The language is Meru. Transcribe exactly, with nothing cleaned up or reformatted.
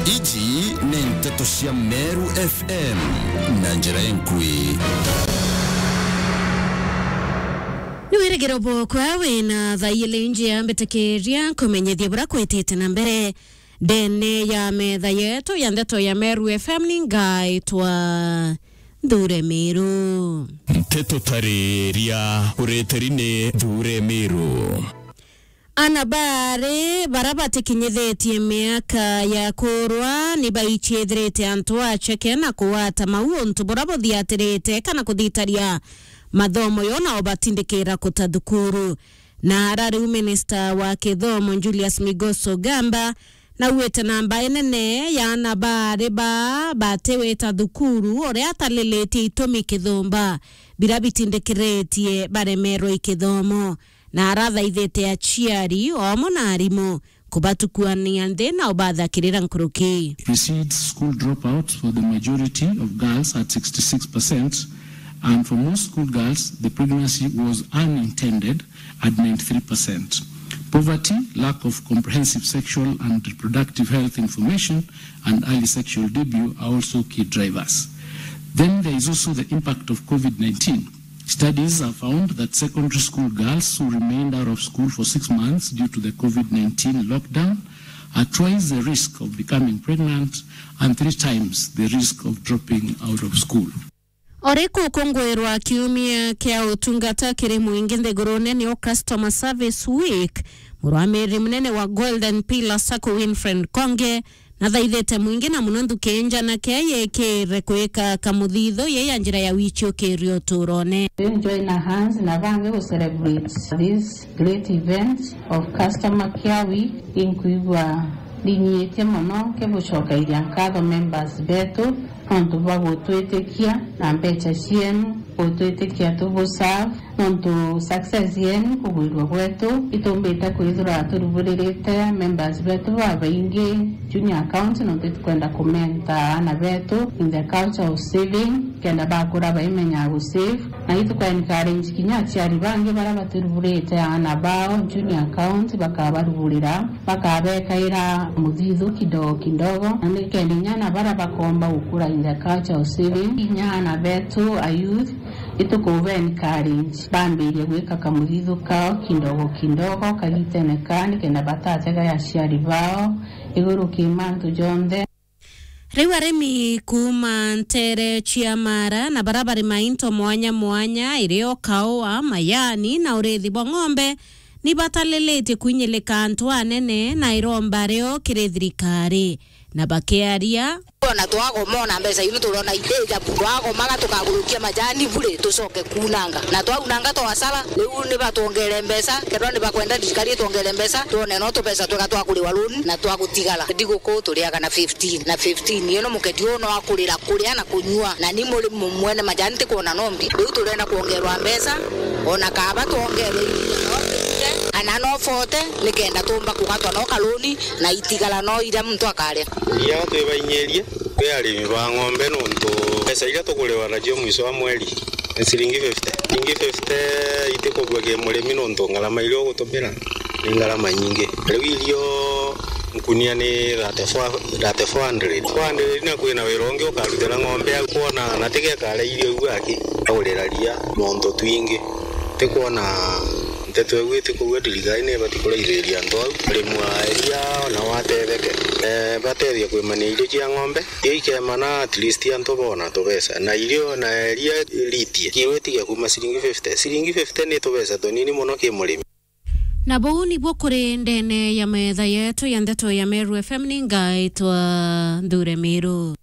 Iji ni nteto cia Meru F M na njira enkui. Ni wirigiro bwokwa wina thaa ili njia mbitikiria nkumenyithie bura kwitite na mbere ndene ya metha yetu ya ndeto ya Meru F M. Ni ngaitwa Nthure Miru. Nteto tariria uritiri ni Nthure Miru. Ana baari bara batikinyithitie miaka ya kurwa ni baichithirite antu acheke na kugwata mau untu bura buthiatirite kana kuthitaria mathomo yo nao batindikira kuta thukuru. Na ara riu minista wa kithomo Julius Migoso Gamba nauite namba inene ya ana baari ba batiwita thukuru uria atalilitie itumi kithumba bira bitindikiritie baremerwe i kithomo. Na arathaithite aciari omo na arimu kubatukuania nthi na ubathakirira nkuruki. Precedes school dropouts for the majority of girls at sixty-six percent, and for most school girls, the pregnancy was unintended at ninety-three percent. Poverty, lack of comprehensive sexual and reproductive health information, and early sexual debut are also key drivers. Then there is also the impact of covid nineteen. Studies have found that secondary school girls who remained out of school for six months due to the covid nineteen lockdown are twice the risk of becoming pregnant and three times the risk of dropping out of school. Ori kukungwirwa kiumia kia utungata kiri mwingi nthigurune nio Customer Service Week, murwamiri munene wa Golden Pillar Sacco Winfred Konge nathaithite mwingi na muno nthuki nja na kia yikire kwika kamuthithu ye ya njira ya wichiukirio uturone. Join hands na bangi gu celebrate this great event of Customer Care Week. Inkwigua ndinyiitie mono nkibucokairia nkatho members betu nontu bwa gutwitikia na mbecha cienu, gutwitikia tubu serve, nontu success yenu kugwirua gwetu itumbite kwithirwa turuburirite members betu babaingi junior account, nontu itukwenda kumenta aana betu in the culture of saving, kenda bakura baimenyaga gu save. Na ituka encourage kinya aciari bangi baria batiruburite aana bao junior account, bakabaruburira, bakabekaira muthithu kidogo kidogo, na nikenda inya aana baria bakomba gukura in the culture of saving, inya aana betu a youth, itukuba encourage bambirie gwika kamuthithu kao kidogo kidogo kagitene kaa, nikenda batatega aciari bao iguru ki mantu jonthe. Riu arimi kuuma ntere cia Mara na bara bari mainto mwanya mwanya, irio kaua, majani na urithi bwa ng'ombe, ni batalilitie kwinyilika antu anene na iromba rio kiri thirikari, na bakiaria. Ona twagoma ona mbeca iu turona iteja, twagomaga tukagurukia majani bure, tucoke kunanga. Na twaunanga twasara, riu ni batwongere mbeca, kethirwa ni bakwenda thirikari itwongere mbeca, twone no tubeca twega twa kuriwa loan na twa gutigara. Thiguku turiaga na fifteen, na fifteen ino muketi uu no akurira kuria na kunyua, na ni muri mu-, mwene majani tikwona nombi. Riu turenda kwongerwa mbeca, ona kaba twongere iria no tunyue, ana no forty, nikenda tumba kugatwa no kaloni, na itigara no iria muntu akaria. Iria twibainyirie kwi arimi ba ng'ombe, nontu mbeca iria tukuriwa nacio mwico wa mweri ni ciringi fifty. Ciringi fifty itikubua ki murimi, nontu ngarama iria ugutumira ni ngarama nyingi. Riu irio nkunia ni thirty-four, thirty-four hundred. Four hundred na kwina wira ungi ukarutira ng'ombe au, kwona na tigekare irio iu aki, agurira ria, nontu twingi. Tikwona nteto iu itikwigua thirikari ni ibati kuraithiria antu au. Arimi a iria ona watetheke, eh, batethia kwimania irio cia ng'ombe, irio ikemana at least antu bona tubeca. Na irio na iria ritie, kilo itige kuma ciringi fifty. Ciringi fifty ni tubeca tunini mono ki murimi. Na buu nibuo kuri ndene ya metha yetu ya ndeto ya Meru F M, ni ngaitwa Nthure Miru.